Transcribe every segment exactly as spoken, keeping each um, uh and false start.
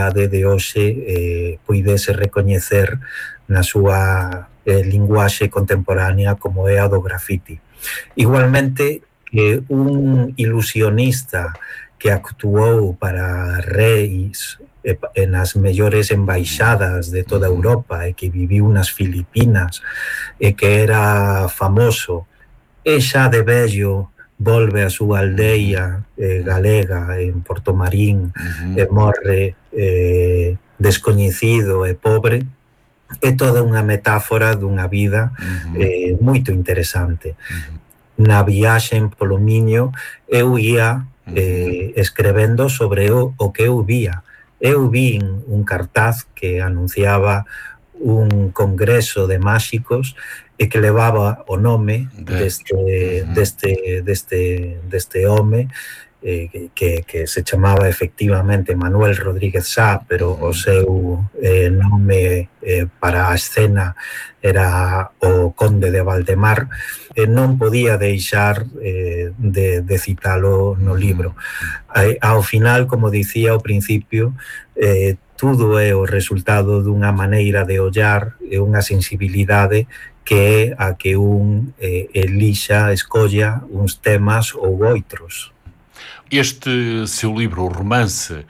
de hoxe eh, puidese recoñecer na súa eh, linguaxe contemporánea como é a do grafiti. Igualmente, que un ilusionista que actuou para reis e, e nas mellores embaixadas de toda Europa e que viviu nas Filipinas e que era famoso, e xa de vello volve a súa aldeia eh, galega en Portomarín uh-huh. e morre eh, descoñecido e pobre, é toda unha metáfora dunha vida uh-huh. eh, moito interesante. Uh-huh. Na viaxe polo Miño eu ia eh, escrevendo sobre o, o que eu vía. Eu vi un cartaz que anunciaba un congreso de máxicos e que levaba o nome deste, deste, deste, deste home eh, que, que se chamaba efectivamente Manuel Rodríguez Sá, pero o seu eh, nome eh, para a escena era o Conde de Valdemar, e non podía deixar eh, de, de citalo no libro. Eh, ao final, como dicía ao principio, eh, tudo é o resultado dunha maneira de ollar e unha sensibilidade que é a que un eh, elixa, escolla uns temas ou outros. Este seu livro, o romance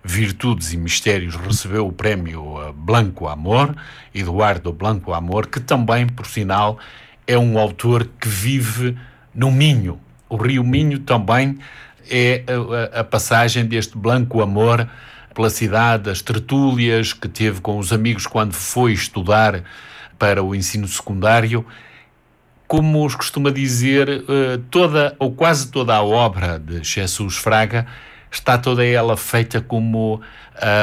Virtudes e Mistérios, recebeu o prémio Blanco Amor, Eduardo Blanco Amor, que também, por sinal, é um autor que vive no Minho. O Rio Minho também é a, a passagem deste Blanco Amor pela cidade, as tertúlias que teve com os amigos quando foi estudar para o ensino secundário. Como os costuma dizer, toda ou quase toda a obra de Jesus Fraga está toda ela feita como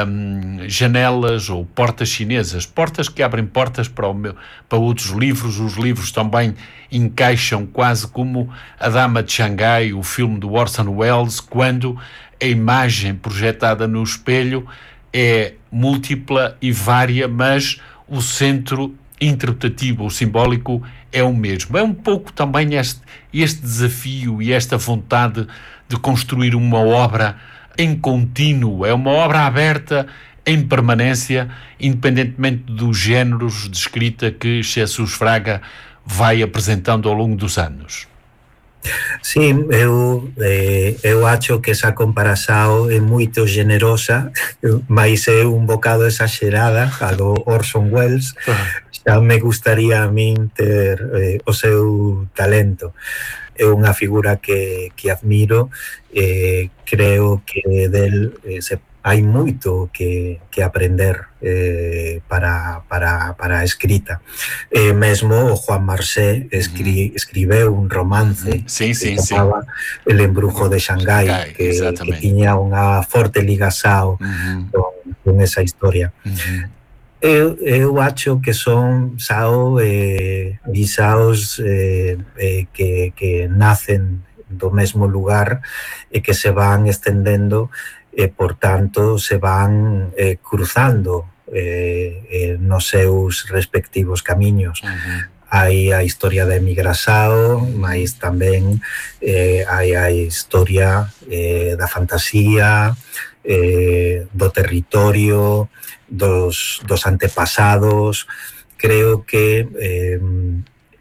um, janelas ou portas chinesas, portas que abrem portas para, o meu, para outros livros. Os livros também encaixam quase como A Dama de Xangai, o filme do Orson Welles, quando a imagem projetada no espelho é múltipla e vária, mas o centro interpretativo ou simbólico é o mesmo. É um pouco também este, este desafio e esta vontade de construir uma obra em contínuo, é uma obra aberta em permanência, independentemente dos géneros de escrita que Jesus Fraga vai apresentando ao longo dos anos. Sim, eu, eh, eu acho que esa comparação é muito generosa, mas é un bocado exagerada, a do Orson Welles. Xa me gustaría a min ter eh, o seu talento. É unha figura que, que admiro, eh, creo que del eh, se, hai moito que, que aprender eh, para, para, para a escrita. Eh, mesmo o Juan Marsé escri, escribeu un romance sí, sí, que se chamaba sí. El embrujo de Xangai, que, que tiña unha forte ligação uh-huh. con, con esa historia. Uh-huh. Eu, eu acho que son sao eh, guisaos eh, eh, que, que nacen do mesmo lugar e que se van estendendo e, por tanto, se van eh, cruzando eh, eh, nos seus respectivos camiños. Uh-huh. Hai a historia da emigração, mas tamén eh, hai a historia eh, da fantasía, eh, do territorio, dos, dos antepasados. Creo que eh,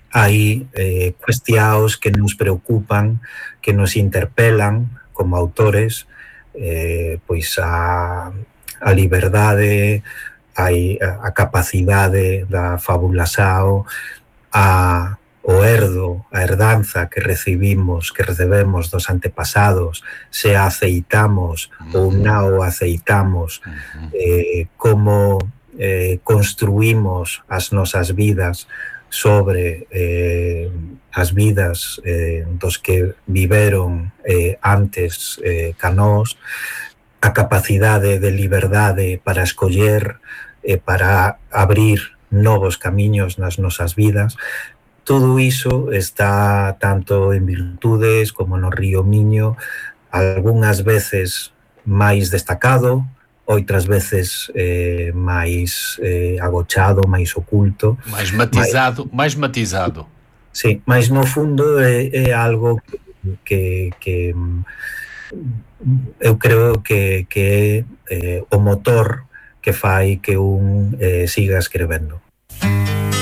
hai eh, cuestións que nos preocupan, que nos interpelan como autores, eh, pois a, a liberdade, a, a capacidade da fabulação, a o herdo, a herdanza que recibimos, que recebemos dos antepasados, se a aceitamos uh-huh. ou non aceitamos, uh-huh. eh, como eh, construímos as nosas vidas sobre eh, as vidas eh, dos que viveron eh, antes eh, ca nós, a capacidade de liberdade para escoller e eh, para abrir novos camiños nas nosas vidas. Todo iso está tanto en Virtudes como no Río Miño, algunhas veces máis destacado, outras veces eh, máis eh, agochado, máis oculto. Mais matizado, máis, máis matizado. Sí, mas no fundo é, é algo que, que, eu creo que, que é eh, o motor que fai que un eh, siga escrevendo.